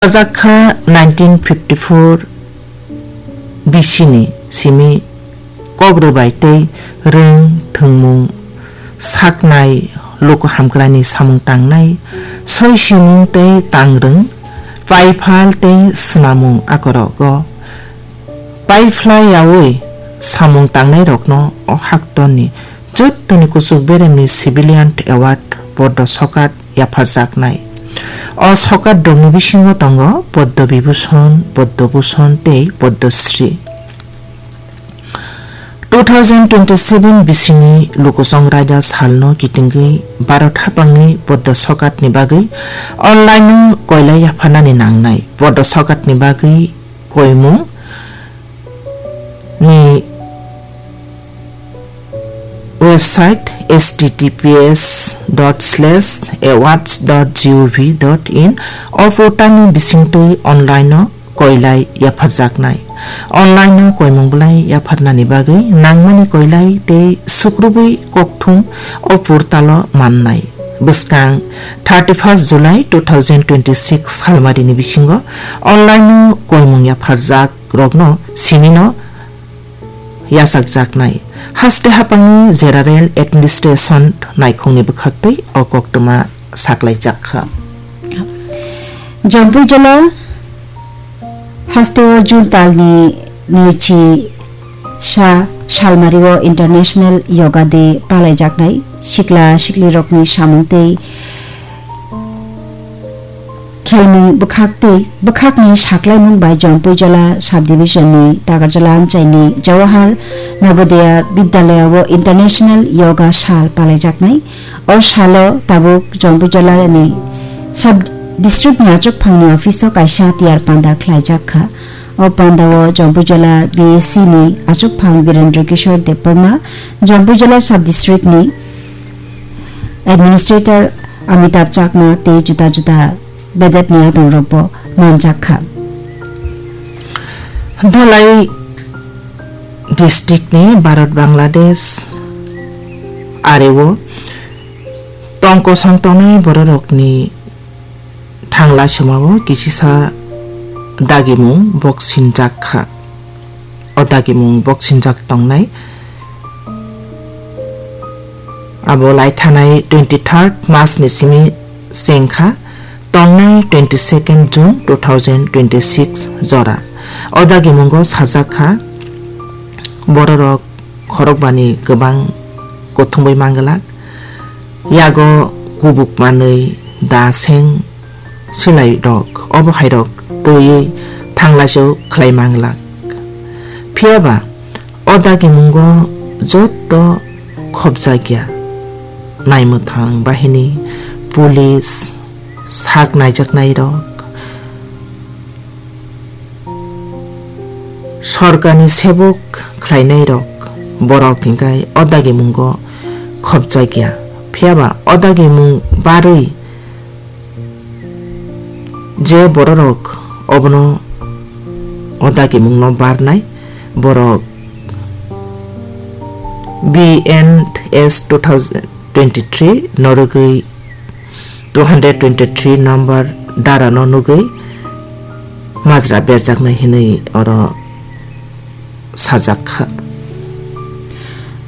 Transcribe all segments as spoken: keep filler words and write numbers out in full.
Sajak kha nineteen fifty four bisini simi kok rwbai tei rwng thwngmung saknai luku hamkraini samung tangnai soi simung tei tangrwng paiphal tei swnamung akorogo paiphlai yaui samung tangnairokno o haktorni jottoni kuchuk beremni civilian award Poddo Sokat yapharjaknai. O sokat rokni bisingo tongo Poddo Vibhushon, Poddo Bhushon tei Poddo Shri. Two thousand twenty seven bisini Lukuchong Raida salno kitingwi Bharat haphangni Poddo Sokatni bagwi online-o koilai yapharnani nangnai. Poddo Sokatni bagwi koimung ni website H T T P S dot slash awards dot gov dot in o portalni bisingtwi online-o koilai yapharjaknai. Online-o koimung bwlai yapharnani bagwi nangmani koilai tei sukrubwi kokthum o portalo mannai. Bwskang thirty first July two thousand twenty six salmarini bisingo online-o koimung yapharjak rokno simino yachakjaknai. Haste haphangni General Administration naikhungni bwkhaktwi o koktwma saklaijak kha. Jompuijola hasteo June talni nwichi sa salmario International Yoga Day palaijaknai. Sikla siklirokni samung tei khelmung bwkhak tei bwkhakni saklaimung bai Jompuijola subdivision ni Takarjala amchaini Jawahar Navodaya Vidyalaya o International Yoga Sal palaijaknai. O salo tabuk Jompuijola ni sub district ni achukphangni office o kaisa tiyar panda khlaijak kha. O panda o Jompuijola B A C ni achukphang Birendra Kishore Debbarma, Jompuijola sub district ni administrator Amitabh Chakma tei juda juda bedetni adongrokbo manjak kha. Dhalai district ni Bharat Bangladesh areo tong kosong tongnai bororokni thangla somao kisisa dagimung boksinjak kha. O dagimung boksinjak tongnai abo laithanai twenty third March ni simi chengkha tongnai twenty second June two thousand twenty six jora. O dagimungo sajak kha bororok khorokbani kwbang kuthumwi manglak, yago kubuk manwi da seng silai rok obo hai rok twiwi thanglaisao khlai manglak. Phiyaba o dagimungo joto khopjakya naimwthang bahini, police, sak naijaknai rok, sorkarni sebuk khlainai rok borok hinkhe o dagimungo khopjakya. Phiyaba o dagimung barwi je bororok obono o dagimungno barnai borok B N S two thousand twenty three norogwi two hundred twenty three number dara no nugwi majra berjaknai hinwi oro sajak kha.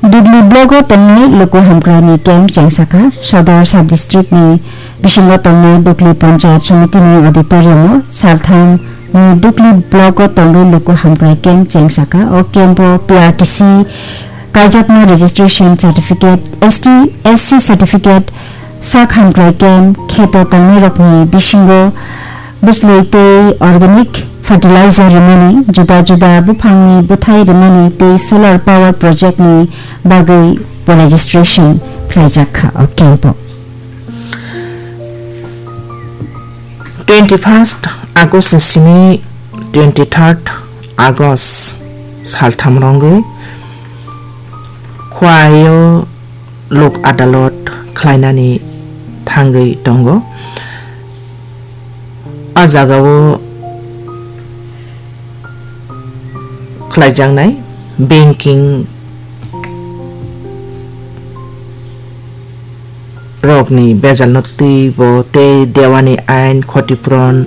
Dugli block o tongnai luku hamkrai ni camp chengsa kha. Sodor sub district ni bisingo tongnai Dugli Panchayat Samiti ni auditorium o saltham ni Dugli block o tongwi luku hamkrai camp chengsa kha. O camp o P R T C kaijakma registration certificate, S T, S C certificate, sak hamkrai camp kheto tongnairokni bisingo bwslwi tei organic fertilizer rimani, juda juda buphangni bwthai rimani tei solar power project ni bagwi bo registration khlaijak kha o camp o. Twenty first August ni simi twenty third August saltham rwngwi Khwaio lok adalot khlainani thangwi tongo. A jagao khlaijaknai banking rokni bejalno twibo tei dewani ain, khoti puron,